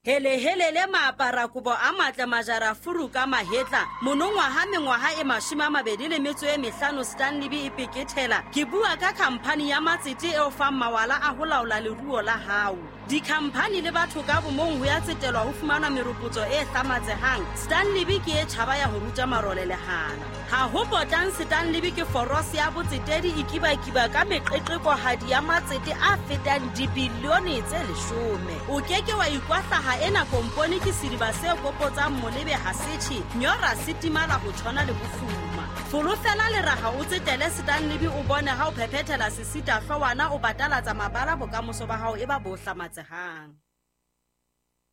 Helehelele maaparakobo a matle majara furu ka mahetla monongwaha mengwaha e 25 Stanley e pekethela. Ke bua ka khamphani ya matsete eo fang mawala a ho laola leruo la hao. Dikhamphani le batho ka bomong ho ya tsetelwa ho fumana meropotso e hlamatsehang. Stanley ke e tjhaba ya ho ruta marole lehala. Ha ho potlang Stanley ke forose ya botsetedi e kibakiba ka meqeqekohadi ya matsete a fetang dibilione tse 10. O keke wa ikwahlaha ena kompone ke sediba se kopotsang molebe ha setjhe nyora se timala ho tshwana le bofuma. Folofela leraha o tsetele Stanley o bone ha o phephethela sesita hloowana o batalatsa mabala bokamoso ba hao e ba bo hlamatsehang.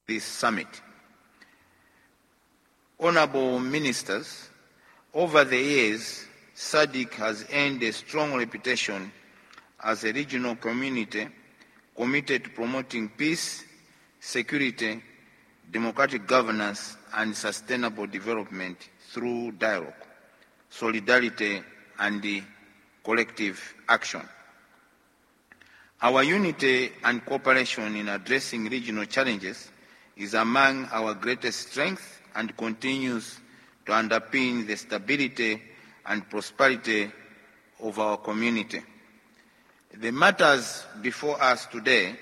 This summit. Honorable Ministers, over the years, SADC has earned a strong reputation as a regional community committed to promoting peace, security, democratic governance, and sustainable development through dialogue, solidarity, and collective action. Our unity and cooperation in addressing regional challenges is among our greatest strengths and continues to underpin the stability and prosperity of our community. The matters before us today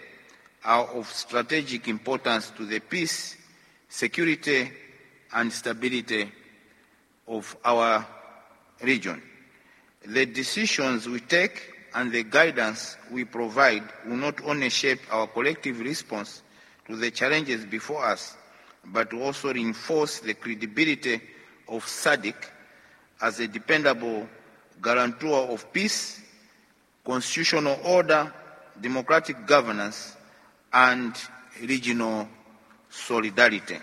are of strategic importance to the peace, security, and stability of our region. The decisions we take and the guidance we provide will not only shape our collective response to the challenges before us, but also reinforce the credibility of SADC as a dependable guarantor of peace, constitutional order, democratic governance, and regional solidarity.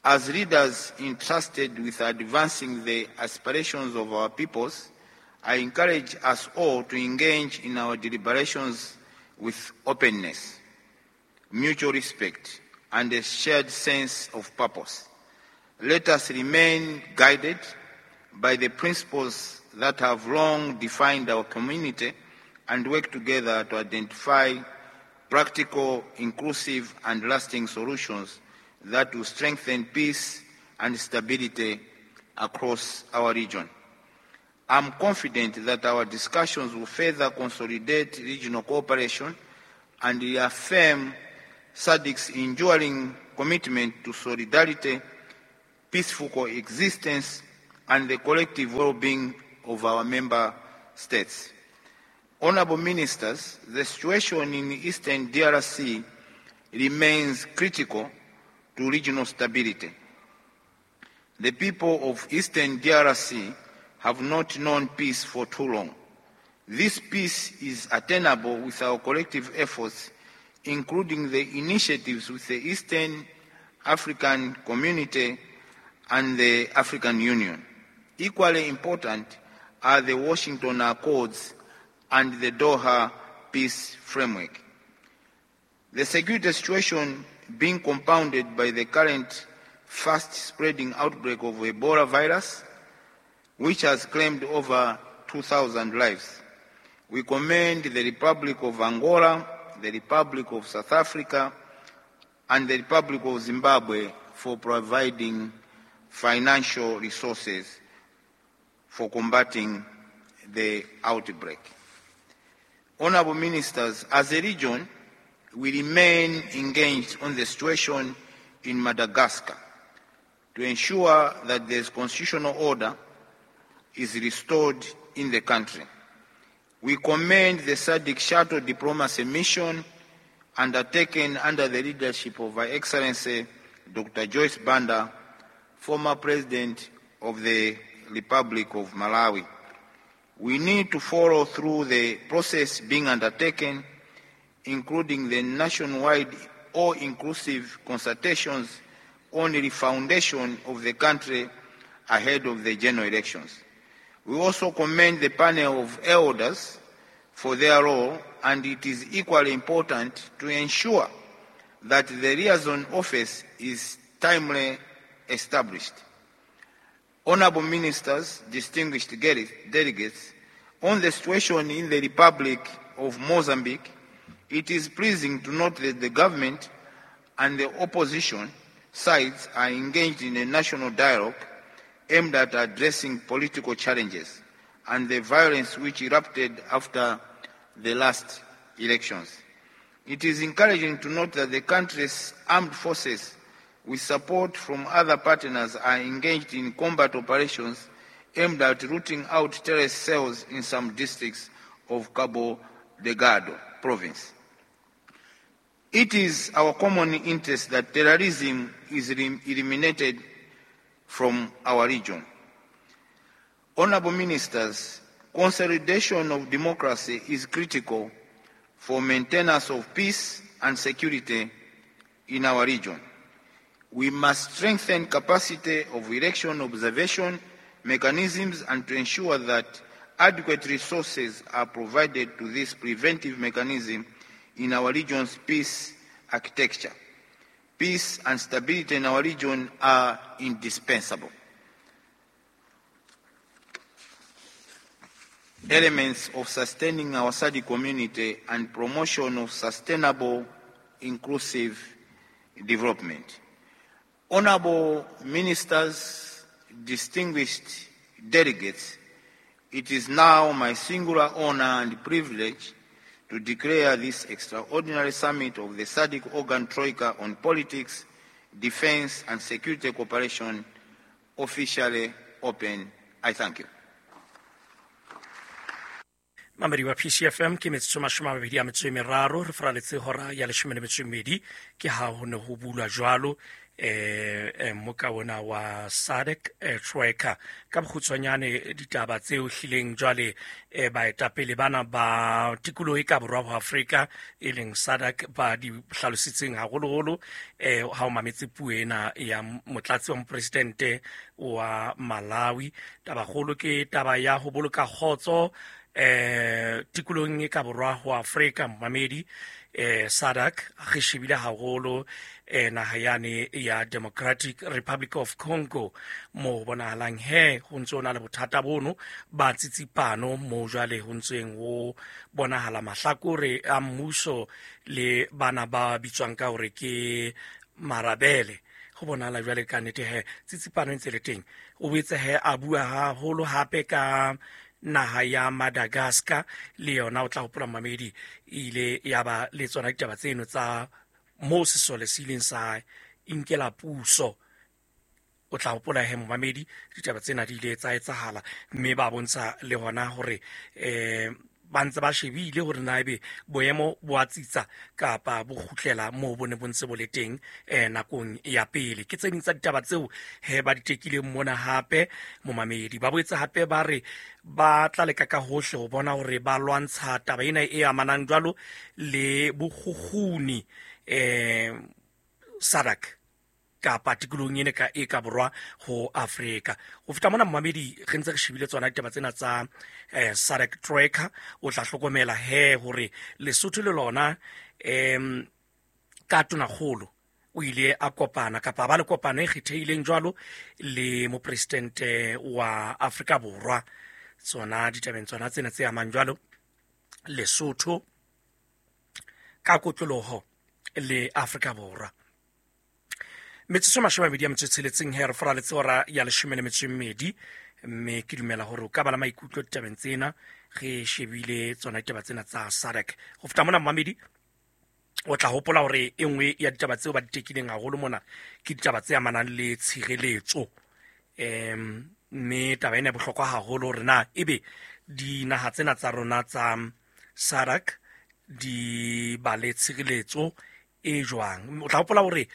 As leaders entrusted with advancing the aspirations of our peoples, I encourage us all to engage in our deliberations with openness, mutual respect, and a shared sense of purpose. Let us remain guided by the principles that have long defined our community and work together to identify practical, inclusive, and lasting solutions that will strengthen peace and stability across our region. I'm confident that our discussions will further consolidate regional cooperation and reaffirm SADC's enduring commitment to solidarity, peaceful coexistence, and the collective well-being of our member states. Honorable Ministers, the situation in Eastern DRC remains critical to regional stability. The people of Eastern DRC have not known peace for too long. This peace is attainable with our collective efforts, including the initiatives with the Eastern African Community and the African Union. Equally important are the Washington Accords and the Doha Peace Framework. The security situation being compounded by the current fast-spreading outbreak of Ebola virus, which has claimed over 2,000 lives. We commend the Republic of Angola, the Republic of South Africa, and the Republic of Zimbabwe for providing financial resources for combating the outbreak. Honorable Ministers, as a region, we remain engaged on the situation in Madagascar to ensure that the constitutional order is restored in the country. We commend the SADC Shuttle Diplomacy Mission undertaken under the leadership of Her Excellency Dr. Joyce Banda, former President of the Republic of Malawi. We need to follow through the process being undertaken, including the nationwide all-inclusive consultations on the foundation of the country ahead of the general elections. We also commend the panel of elders for their role, and it is equally important to ensure that the liaison office is timely established. Honorable Ministers, distinguished delegates, on the situation in the Republic of Mozambique, it is pleasing to note that the government and the opposition sides are engaged in a national dialogue aimed at addressing political challenges and the violence which erupted after the last elections. It is encouraging to note that the country's armed forces, with support from other partners, are engaged in combat operations aimed at rooting out terrorist cells in some districts of Cabo Delgado province. It is our common interest that terrorism is eliminated from our region. Honorable Ministers, consolidation of democracy is critical for maintenance of peace and security in our region. We must strengthen capacity of election observation mechanisms and to ensure that adequate resources are provided to this preventive mechanism in our region's peace architecture. Peace and stability in our region are indispensable elements of sustaining our SADC community and promotion of sustainable, inclusive development. Honorable Ministers, distinguished delegates, it is now my singular honor and privilege to declare this extraordinary summit of the SADC Organ Troika on Politics, Defense and Security Cooperation officially open. I thank you. Mamedi wa PCFM, ke metsotso 23 re faraletse hora ya 12. Ke ha ho ne ho bulwa jwalo moka ona wa SADC Troika. Ka bokgutshwanyane, ditaba tseo hlileng jwale baetapele bana ba tikoloho e ka borwa ho Afrika, e leng SADC, ba di hlalositseng haholoholo ha o mametse puo ena ya motlatsi wa mopresidente wa Malawi, tabakgolo ke taba ya ho boloka kgotso tikolohong e ka borwa ho Afrika. Momamedi, SADC re shebile haholo naha yane ya Democratic Republic of Congo, mo bonahalang he ho ntse ho na le bothata bono ba tsitsipano, mo jwale ho ntseng ho bonahala mahlakore a mmuso le bana ba bitswang ka hore ke marabele. Ho bonahala jwale ka nnete he tsitsipano e ntse le teng. O boetse he a bua haholo hape ka naha ya Madagascar. Le yona, o tla hopola mamedi, e ile ya ba le tsona ditaba tseno tsa moo sesole se ileng sa inkela puso. O tla hopola he momamedi, ditaba tsena di ile tsa etsahala, mme ba bontsha le hona hore ba ntse ba shebile hore na ebe boemo bo a tsitsa kapa bo kgutlela moo bo ne bo ntse bo le teng nakong ya pele. Ke tse ding tsa ditaba tseo he ba di tekileng mona. Hape momamedi, ba boetse hape ba re ba tla leka ka hohle ho bona hore ba lwantsha taba ena e amanang jwalo le bokgukguni SADC kapa tikolohong ene ka e ka borwa ho Afrika. Ho feta mona momamedi, re ntse re shebile tsona ditaba tsena tsa SADC Troika. O tla hlokomela he hore Lesotho le lona ka tonakgolo o ile a kopana kapa ba le kopano e kgethehileng jwalo le mopresidente wa Afrika Borwa, tsona ditabeng tsona tsena tse amang jwalo Lesotho ka kotloloho le Afrika Borwa. Metsotso 26 he re faraletse hora ya 12, mme ke dumela hore o ka ba la maikutlo ditabeng tsena re shebile tsona ditaba tsena tsa SADC. Ho feta mona momamedi, o tla hopola hore e nngwe ya ditaba tseo ba di tekileng haholo mona ke ditaba tse amanang le tshireletso, mme taba ena e bohlokwa haholo hore na ebe dinaha tsena tsa rona tsa SADC di ba le tshireletso e jwang. O tla hopola hore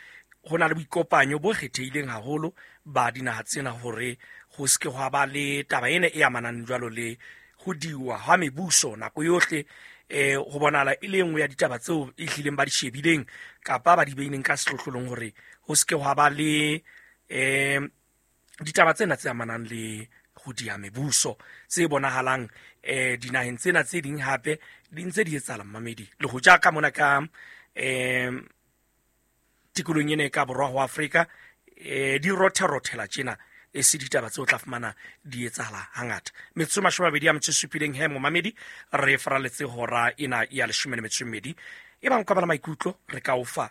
ho na le boikopanyo bo kgethehileng haholo ba dinaha tsena hore ho se ke hwa ba le taba ena e amanang jwalo le ho diwa hwa mebuso nako yohle. Ho bonahala e le nngwe ya ditaba tseo e hlileng ba di shebileng kapa ba di beileng ka sehlohlolong hore ho se ke hwa ba le ditaba tsena tse amanang le ho diha mebuso tse bonahalang dinaheng tsena tse ding hape di ntse di etsahala mmamedi, le ho ja ka mona ka tikolohong ena e ka borwa ho Afrika di rothe-rothela tjena, e se ditaba tseo tla fumana di etsahala hangata. Metsotso 27 he momamedi re faraletse hora ena ya 12. E bang ka bala maikutlo re ka o fa.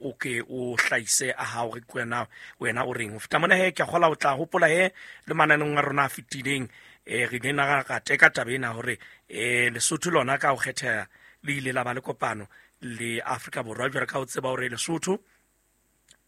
O ke o hlahise a hao re kwena wena o reng. Ho feta mona he ke a kgola o tla hopola he le mananeng a rona a fetileng, re ile na ra teka taba ena hore Lesotho lona ka ho kgetheha le ile la ba le kopano le Afrika Borwa. Jwale ka ho tseba hore Lesotho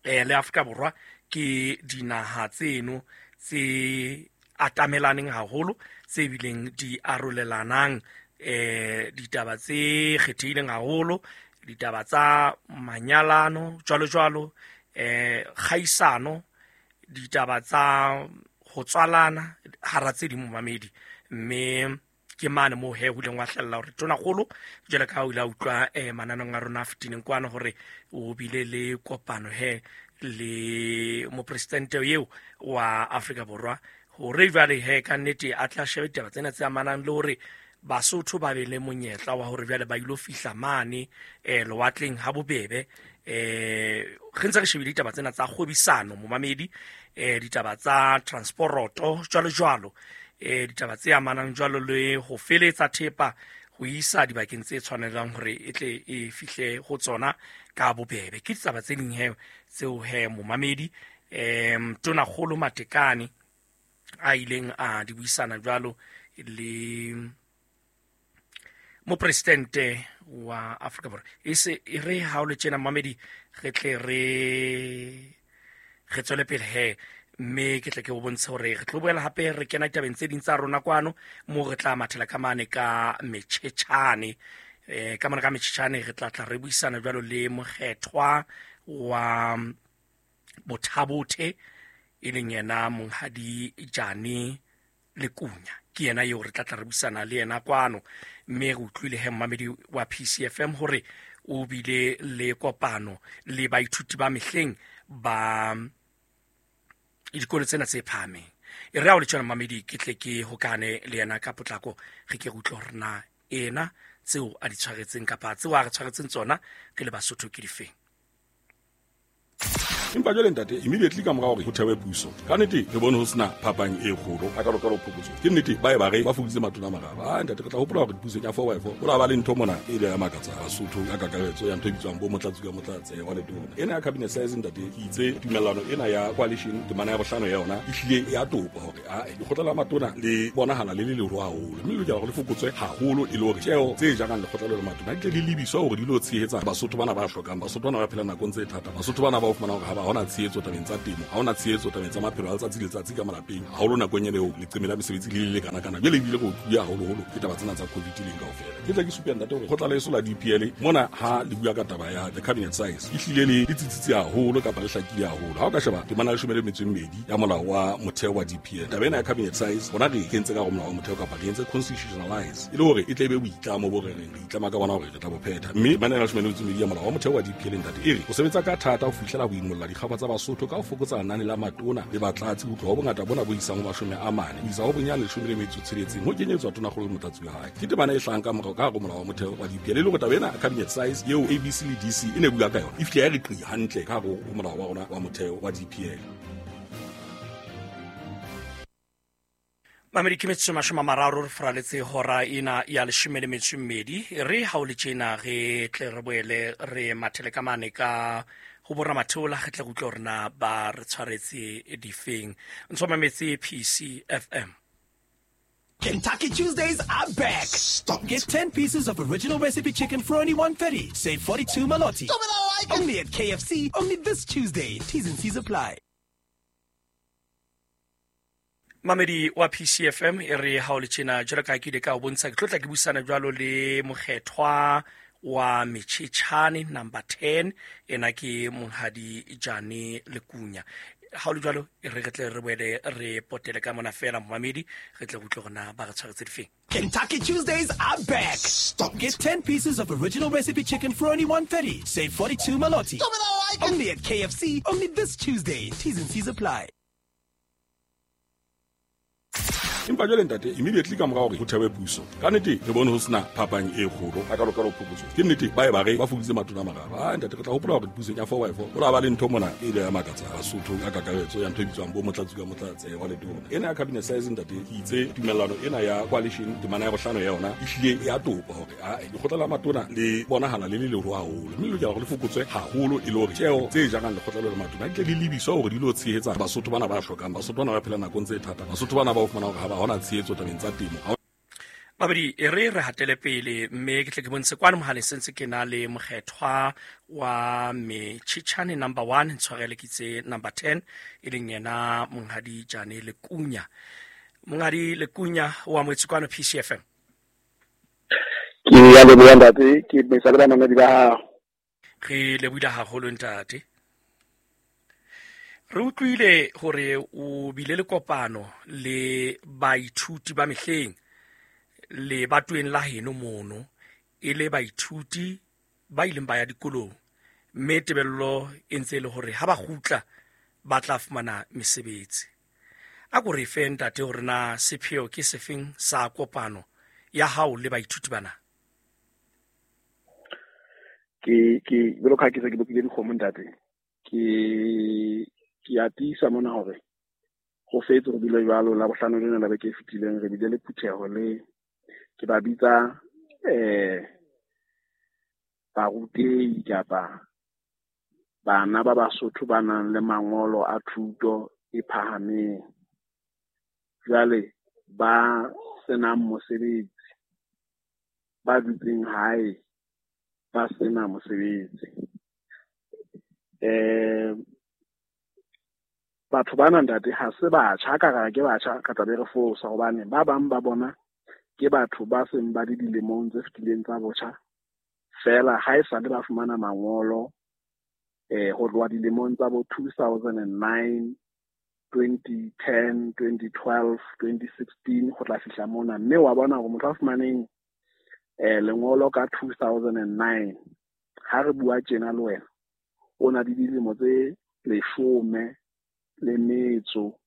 le Afrika Borwa ke dinaha tseno tse atamelaneng haholo, tse bileng di arolelanang ditaba tse kgethehileng haholo, ditaba tsa manyalano jwalo jwalo, kgaisano, ditaba tsa ho tswalana hara tse ding momamedi. Mme ke mane moo he ho ileng wa hlella hore tonakgolo jwale ka ha o ile a utlwa mananeng a rona a fetileng kwana hore o bile le kopano he le mopresidente eo wa Afrika Borwa, hore jwale he ka nnete a tla shebe ditaba tsena tse amanang le hore Basotho ba be le monyetla wa hore jwale ba ilo fihla mane lewatleng ha bobebe. Re ntse re shebile ditaba tsena tsa kgwebisano momamedi, ditaba tsa transporoto jwalo jwalo, ditaba tse amanang jwalo le ho feletsa thepa ho isa dibakeng tse tshwanelang hore e tle e fihle ho tsona ka bobebe. Ke ditaba tse ding he tseo he momamedi Tonakgolo Matekane a ileng a di buisana jwalo le mopresidente wa Afrika Borwa. E se e re ha o le tjena momamedi re tle re tswele pele he, mme ke tle ke o bontshe hore re tlo boela hape re kena ditabeng tse ding tsa rona kwano moo re tla mathela ka mane ka metjhetjhane. Ka mane ka metjhetjhane re tla tla re buisana jwalo le mokgethwa wa Bothabothe, e leng yena Monghadi Jane Lekunya. Ke yena eo re tla tla re buisana le yena kwano. Mme re utlwile he momamedi wa PCFM hore o bile le kopano le baithuti ba mehleng ba dikolo tsena tse phahameng. E re ha o le tjena momamedi ke tle ke hokane le yena ka potlako, re ke re utlwe hore na ena tseo a di tshwaretseng kapa tseo a re tshwaretseng tsona re le Basotho ke difeng. Empa jwale ntate, immediately ka mora hore ho thewe puso, ka nnete re bone ho sena phapang e kgolo a ka phokotso. Ke nnete ba e ba re ba fokoditse matona a mararo. Ah ntate, re tla hopola hore dipusong ya 4x4 ho la ba le ntho mona e ile ya makatsa Basotho ka kakaretso ya ntho e bitswang bo motlatsi ka motlatse wa letona. Ena ya cabinet size ntate, ke itse tumellano ena ya coalition temana ya bohlano ya yona e hlile ya topa hore a lekgotla la matona le bonahala le le leholo haholo, mme le lokela hore le fokotswe haholo e le hore tjeo tse jarang lekgotla le matona di tle di lebiswa hore di lo tshehetsa Basotho bana ba hlokang, Basotho bana ba phelang nakong tse thata, Basotho bana ba o fumana hore ha ba hona tshehetso tabeng tsa temo, ha hona tshehetso tabeng tsa maphelo a letsatsi le letsatsi ka malapeng, haholo nakong ena eo leqeme la mesebetsi le le kana-kana. Jwale ebile re otluwe haholoholo ke taba tsena tsa COVID leng kaofela. Ke tla ke supe ntate hore kgotla leso la DPL mona ha le bua ka taba ya the cabinet size e hlile le tsitsitse haholo kapa le hlakile haholo. Ha o ka sheba temana ya 12 ya molao wa motheo wa DPL, taba ena ya cabinet size rona re kentse ka hare ho molao wa motheo kapa re entse constitutionalize e le hore e tle e be boitlamo bo re reng re itlama ka bona hore re tla bo phetha. Mme temana ya 12 ya molao wa motheo wa DPL ntate e re o sebetsa ka thata ho fihlela ho imolla dikgaba tsa Basotho ka ho fokotsa lenane la matona le batlatsi ho tloha ho bongata bona bo isang ho 40 ho isa ho bonyane 16 ho kenyetswa tonakgolo le motlatsi wa hae. Ke temana e hlahang ka morao ka hare ho molao wa motheo wa DPL e le hore taba ena cabinet size eo ABC le DC e ne bua ka yona e fihle ya re qi hantle ka hare ho molao wa rona wa motheo wa DPL. Mamedi ke metsotso 30 re fraletse hora ena ya 12. Re ha o le tjena re tle re boele re mathele ka mane ka ho boramatheola, re tle re utlwe hore na ba re tshwaretse difeng. Ntso mametse PCFM. Kentucky Tuesdays are back. Stop. Get 10 pieces of original recipe chicken for only $1.30. Save 42 maloti. Stop it, I like it. Only at KFC, only this Tuesday. T's and C's apply. Mamedi wa PCFM e re ha o le tjena jwalo ka ke ile ka o bontsha, ke tlotla ke buisana jwalo le mokgethwa wa Metjhetjhane number 10, ena ke Monghadi Jane Lekunya. Ha o le jwalo e re re tle re boele re potele ka mona fela momamedi, re tle re utlwe hore na ba re tshwaretse difeng. Kentucky Tuesdays are back. Stop. Get 10 pieces of original recipe chicken for only $1.30. Save 42 maloti. Stop it, I like it. Only at KFC, only this Tuesday. T's and C's apply. Empa jwale ntate, immediately ka mora hore ho thewe puso, ka nnete re bone ho sena phapang e kgolo a kalokalo phokotso. Ke nnete ba e ba re ba fokoditse matona a mararo. A ntate, re tla hopola hore pusong ya 4x4 ho la ba le ntho mona e ile ya makatsa Basotho ka kakaretso ya ntho e bitswang bo motlatsi ka motlatse wa letona. Ena ya cabinet size, ntate, ke itse tumellano ena ya coalition temana ya bohlano ya yona e hlile e a topa hore a lekgotla la matona le bonahala le le leholo haholo, mme le lokela hore le fokotswe haholo e le hore tjeo tse jarang lekgotla le matona di tle di lebiswa hore di lo tshehetsa Basotho bana ba hlokang, Basotho bana ba phelang nakong tse thata, Basotho bana ba o fumana hore ha ba hona tshehetso tabeng tsa temo. Babedi, e re re hatele pele, mme ke tle ke bontshe kwano mohaleng sentse ke na le mokgethwa wa Metšhitšhane number 1, ntshwarele ke itse number 10, e leng yena Monghadi Jane Lekunya. Monghadi Lekunya o amohetse kwano PCFM. Ke ya leboha ntate, ke mesa le bamamedi ba hao. Re lebohile haholo ntate. Re utlwile hore o bile le kopano le baithuti ba mehleng le batweng la heno mono, e le baithuti ba ileng ba ya dikolong, mme tebello e ntse e le hore ha ba kgutla ba tla fumana mesebetsi. A ko re fe ntate hore na sepheo ke sefeng sa kopano ya hao le baithuti bana? Ke jwalo ka ha ke se ke bopile dikgomo ntate, ke a tiisa mona hore ho fetse ho bile jwalo. La bohlano lena la beke e fetileng re bile le phutheho le ke ba bitsa barutehi kapa bana ba Basotho ba nang le mangolo a thuto e phahameng, jwale ba senang mosebetsi, ba dutseng hae ba sena mosebetsi. Batho bana ntate ha se batjha, ka re ke batjha ka tla be re fosa, hobane ba bang ba bona ke batho ba seng ba le dilemong tse fetileng tsa botjha fela, ha e sale ba fumana mangolo ho tloha dilemong tsa bo 2009, 2010, 2012, 2016 ho tla fihla mona. Mme wa bona hore motho a fumaneng lengolo ka 2009, ha re bua tjena le wena, o na le dilemo tse 18 le metso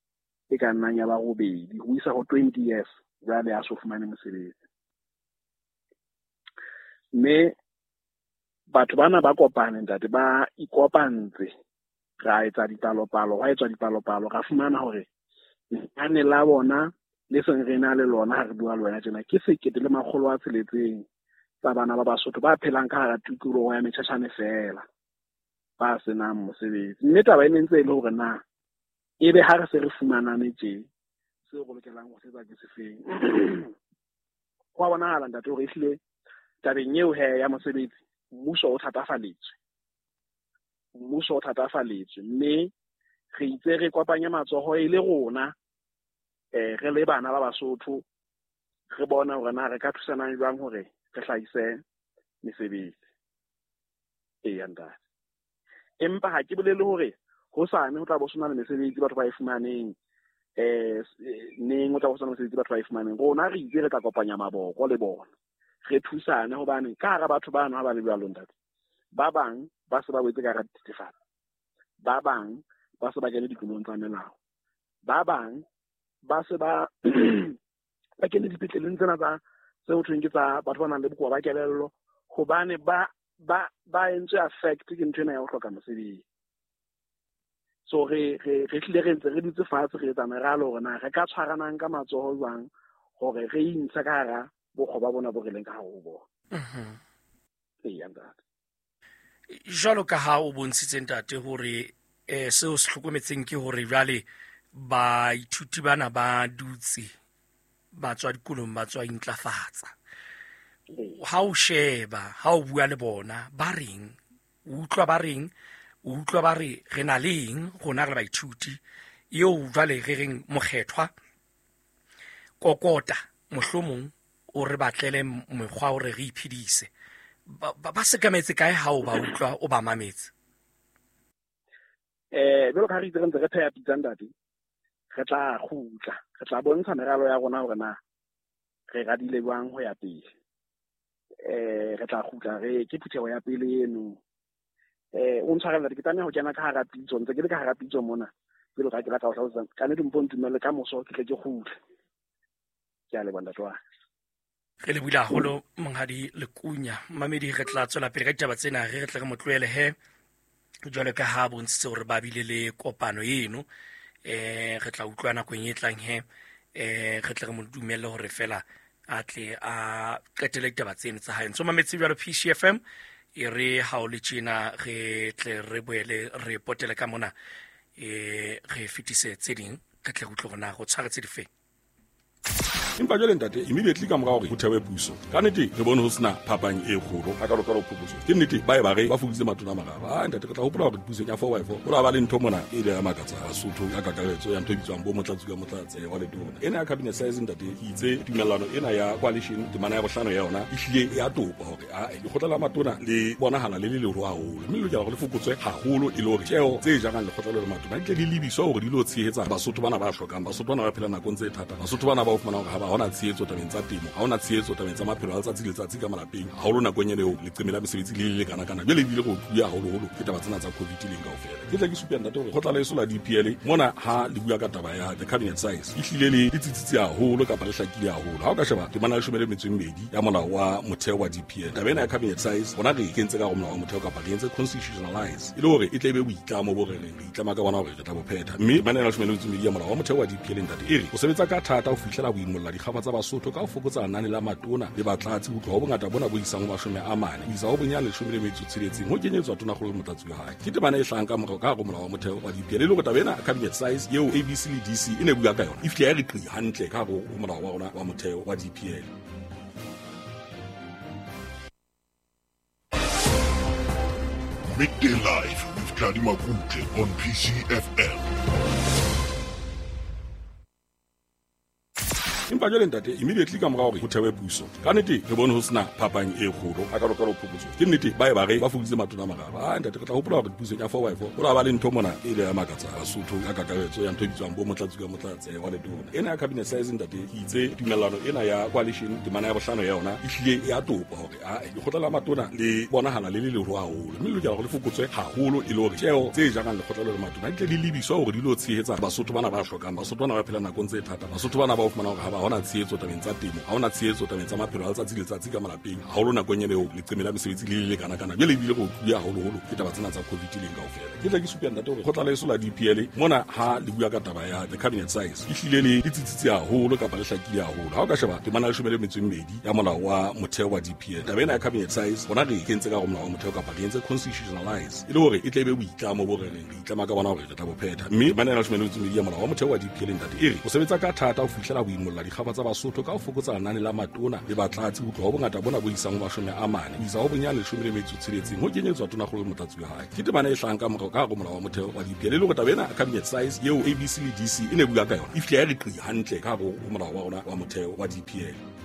e ka nnang ya ba 8 ho isa ho 20 years jwale a so fumane mosebetsi. Mme batho bana ba kopane ntate, ba ikopantse, ra etsa dipalopalo, hwa etswa dipalopalo, ra fumana hore lenane la bona le seng re na le lona ha re bua le wena tjena ke 1600 tsa bana ba Basotho ba phelang ka hara tikoloho ya Metšhatšhane fela, ba senang mosebetsi. Mme taba e ne ntse e le hore na ebe ha re se re fumanane tje, seo re lokelang ho se etsa ke sefeng. Ho a bonahala ntate hore ehlile tabeng eo he ya mosebetsi, mmuso o thatafaletswe. Mmuso o thatafaletswe, mme re itse re kopanye matsoho e le rona, re le bana ba Basotho, re bona hore na re ka thusanang jwang hore re hlahise mesebetsi. Eya ntate. Empa ha ke bolele hore hosane ho tla bo sena le mesebetsi batho ba e fumaneng, neng ho tla bo sena mesebetsi batho ba e fumaneng. Rona re itse re tla kopanya maboko le bona, re thusane, hobane ka hara batho bano ha ba le jwalo ntate, ba bang ba se ba wetse ka hara dithethefatsi, ba bang ba se ba kene dikolong tsa melao, ba bang ba se ba ba kene dipetleleng tsena tsa tse ho thweng ke tsa batho ba nang le bokowa ba kelello, hobane ba entswe affect ke ntho ena ya ho hloka mosebetsi. So re hlile re ntse re dutse fatshe re etsa meralo hore na re ka tshwaranang ka matsoho jwang hore re intshe ka hara bokgoba bona bo re leng ka hare ho bona. Eya ntate. Jwalo ka ha o bontshitse ntate hore seo se hlokometseng ke hore jwale baithuti bana ba dutse ba tswa dikolong, ba tswa intlafatsa. Ha o sheba, ha o bua le bona, ba reng? O utlwa ba reng? O utlwa ba re re na le eng rona re baithuti eo jwale re reng mokgethwa kokota mohlomong o re batlele mekgwa hore re iphedise. Ba sekametse kae ha o ba utlwa o ba mametse? Jwalo ka ha re itse re ntse re pheha pitsa ntate, re tla kgutla, re tla bontsha meralo ya rona hore na re radile jwang ho ya pele. Re tla kgutla, re ke phutheho ya pele eno. O ntshwarela ke tlameha ho kena ka hara pitso, ntse ke le ka hara pitso mona. Jwalo ka ke batla ho hlalosa, ka nnete mpo ntumelle ka moso ke tle ke kgutle. Ke a leboha ntate wa. Re lebohile haholo monghadi Lekunya. Mamedi, re tla tswela pele ka ditaba tsena, re tle re mo tlohele he jwalo ka ha bontshitse hore ba bile le kopano eno. Re tla utlwa nakong e tlang he, re tle re mo dumelle hore fela a tle a qetele ditaba tseno tsa hae. Ntso mametse jwalo PCFM, e re ha o le tjena re tle re boele re potele ka mona, re fetise tse ding, re tle re utlwe hore na go tshwaretse difeng. Empa jwale ntate, immediately ka mora hore ho thewe puso, ka nnete re bone ho sena phapang e kgolo a ka phokotso. Ke nnete ba e ba re ba fokoditse matona a mararo. A ntate, re tla hopola hore pusong ya 4x4 ho la ba le ntho mona e ile ya makatsa Basotho ka kakaretso ya ntho e bitswang bo motlatsi ka motlatse wa letona. Ena ya cabinet size ntate, ke itse tumellano ena ya coalition temana ya bohlano ya yona e hlile ya topa hore a lekgotla la matona le bonahala le le leholo haholo, mme le lokela hore le fokotswe haholo e le hore tjeo tse jarang lekgotla le matona di tle di lebiswe hore di lo tshehetsa Basotho bana ba hlokang, Basotho bana ba phelang nakong tse thata, Basotho bana ba o fumana hore ha ba hona tshehetso tabeng tsa temo, ha hona tshehetso tabeng tsa maphelo a letsatsi le letsatsi ka malapeng, haholo nakong ena eo leqeme la mesebetsi le le kana-kana. Jwale ebile re otluwe haholoholo ke taba tsena tsa COVID leng kaofela. Ke tle ke supe ntate hore kgotla leso la DPL mona ha le bua ka taba ya the cabinet size e hlile le tsitsitse haholo kapa le hlakile haholo. Ha o ka sheba temana ya 12 ya molao wa motheo wa DPL, taba ena ya cabinet size rona re e kentse ka hare ho molao wa motheo kapa re entse constitutionalize e le hore e tle e be boitlamo bo re reng re itlama ka bona hore re tla bo phetha. Mme temana ya 12 ya molao wa motheo wa DPL ntate e re o sebetsa ka thata ho fihlela ho imolla dikgafa tsa Basotho ka ho fokotsa lenane la matona le batlatsi ho tloha ho bongata bona bo isang ho 40 ho isa ho bonyane 16 ho kenyetswa tonakgolo le motlatsi wa hae. Ke temana e hlahang ka morao ka hare ho molao wa motheo wa DPL e le hore taba ena cabinet size eo ABC le DC e ne bua ka yona e fihle ya re qi hantle ka hare ho molao wa rona wa motheo wa DPL. Midday Live with Tladi Makutle on PCFM. Empa jwale ntate, immediately ka mora hore ho thewe puso, ka nnete re bone ho sena phapang e kgolo a ka phokotso. Ke nnete ba e ba re ba fokoditse matona a mararo. A ntate, re tla hopola hore pusong ya 4x4 ho la ba le ntho mona e ile ya makatsa Basotho ka kakaretso ya ntho e bitswang bo motlatsi ka motlatse wa letona. Ena ya cabinet size ntate, ke itse tumellano ena ya coalition temana ya bohlano ya yona e hlile ya topa hore a lekgotla la matona le bonahala le le leholo haholo, mme le lokela hore le fokotswe haholo e le hore tjeo tse jarang lekgotla le matona di tle di lebiswe hore di lo tshehetsa Basotho bana ba hlokang, Basotho bana ba phelang nakong tse thata, Basotho bana ba o fumana hore ha ba hona tshehetso tabeng tsa temo, ha hona tshehetso tabeng tsa maphelo a letsatsi le letsatsi ka malapeng, haholo nakong ena eo leqeme la mesebetsi le le kana-kana. Jwale ebile re otluwe haholoholo ke taba tsena tsa COVID leng kaofela. Ke tle ke supe ntate hore kgotla leso la DPL mona ha le bua ka taba ya the cabinet size e hlile le tsitsitse haholo kapa le hlakile haholo. Ha o ka sheba temana ya 12 ya molao wa motheo wa DPL, taba ena ya cabinet size rona re e kentse ka hare ho molao wa motheo kapa re entse constitutionalize e le hore e tle e be boitlamo bo re reng re itlama ka bona hore re tla bo phetha. Mme temana ya 12 ya molao wa motheo wa DPL ntate e re o sebetsa ka thata ho fihlela ho imolla dikgafa tsa Basotho ka ho fokotsa lenane la matona le batlatsi ho tloha ho bongata bona bo isang ho 40 ho isa ho bonyane 16 ho kenyetswa tonakgolo le motlatsi wa hae. Ke temana e hlahang ka morao ka hare ho molao wa motheo wa DPL e le hore taba ena cabinet size eo ABC le DC e ne bua ka yona e fihle ya re qi hantle ka hare ho molao wa rona wa motheo wa DPL.